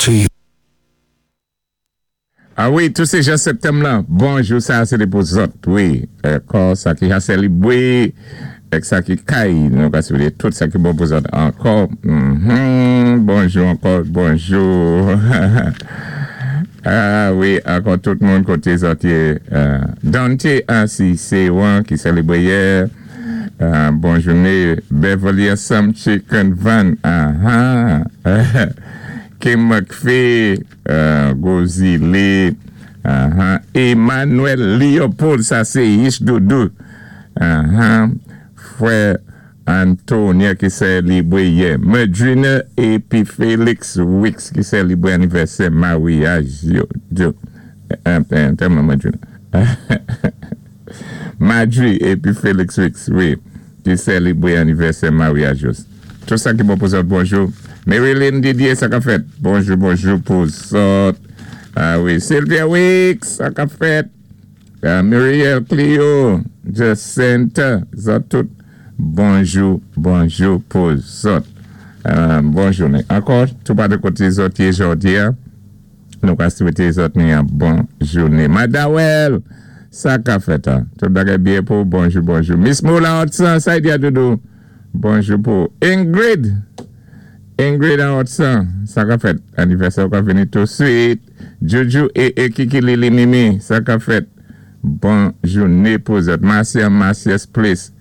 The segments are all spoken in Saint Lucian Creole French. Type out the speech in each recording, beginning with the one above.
to you. A wi, tou sé jan septanm lan, bonjou sa a sé té pou zòt wi, ankò sa ki ha sèlibwé èk sa ki kay nou ka swété tout sa ki bon pou zòt ankò humm bonjou ankò bonjou a wi ankò tout moun koté zòt yé Dante a si sé wan ki sèlibre yè bon jouné Beverly ansanm Chicken Van aha Kim Mcphee. Gwo zile ahan Emmanuel Leopold sa se yich doudou ahan frè Antonia ki sèlibre yè Medrine epi Felix Wix ki sèlibre anivèsè maryaj yo Medrine Madri epi Felix Wix wi ki sèlibre anivèsè maryaj yo. Tout sa ki bon pou zòt bonjou. Maryline Didier sa kap fèt? Bonjou bonjou pou zòt. Ah wi Sylvia Wix sa kap fèt? Muriel Clio Jacinthe zòt tout bonjou bonjou pou zòt. Bon jounen ankò tou pa de kote zòt ye jòdi a. Nou ka swete zòt ni yon bon joune. Madawèl! Sa ka fèt an? Tout bagay byen pou ou? Bonjou, bonjou. Miss Moula Hudson, sa y di a doudou? Bonjou pou ou. Ingrid! Ingrid an Hudson, sa ka fèt? Anivèsè ou ka vini touswit. Juju e e Kiki Lili Mimi, sa ka fèt? Bon joune pou zòt. Marcia Marcius Place.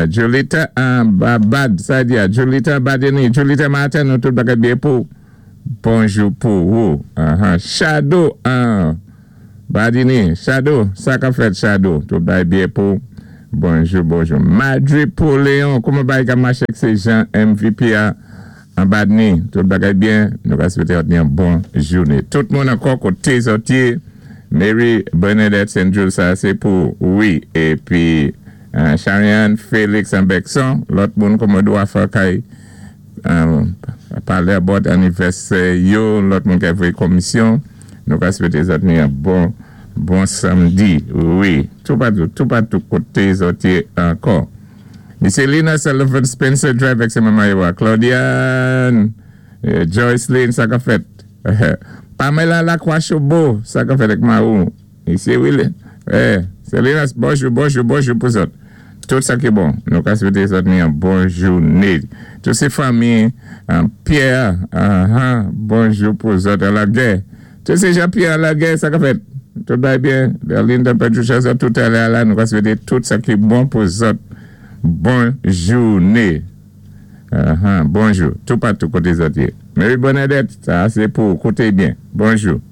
Julita an Babad, sa y di a? Julita Badeni, Julita Martin, nou tout bagay byen pou ou? Bonjou pou ou ahan Shadow an Badini Shadow sa kap fèt Shadow tout bagay byen pou bonjou bonjou Madri Pauleon kouman bagay kap mache k se Jean MVP a an Badni tout bagay byen nou ka swete ot yon bon joune tout moun ankò kote zòt ye Mary Bernadette Saint Jules sa se pou ou wi epi Charianne Felix an Bèkson lòt moun kouman dwa fè kay Pale about anivèsè yo lòt moun kè voye komisyon nou ka swete zòt ni yon bon bon samdi wi toupatou toupatou kote zòt ye ankò Misye Lina Sullivan Spencer Drive ak se manman yo a Claudiane Joyceline sa kap fèt Pamela Lacroix Chobo sa kap fèt ak mawou Misye Willy eh Selinas bonjou bonjou bonjou pou zòt tout sa ki bon nou ka swete zòt ni yon bon joune tout se fanmi Pierre ahan bonjou pou zòt an lagè tout se Jean Pierre an lagè sa kap fèt tout bagay byen Berlinda Patricia zòt tout alè ala nou ka swete tout sa ki bon pou zòt bon joune ahan bonjou toupatou kote zòt ye Mary Bernadette sa se pou ou koute byen bonjou.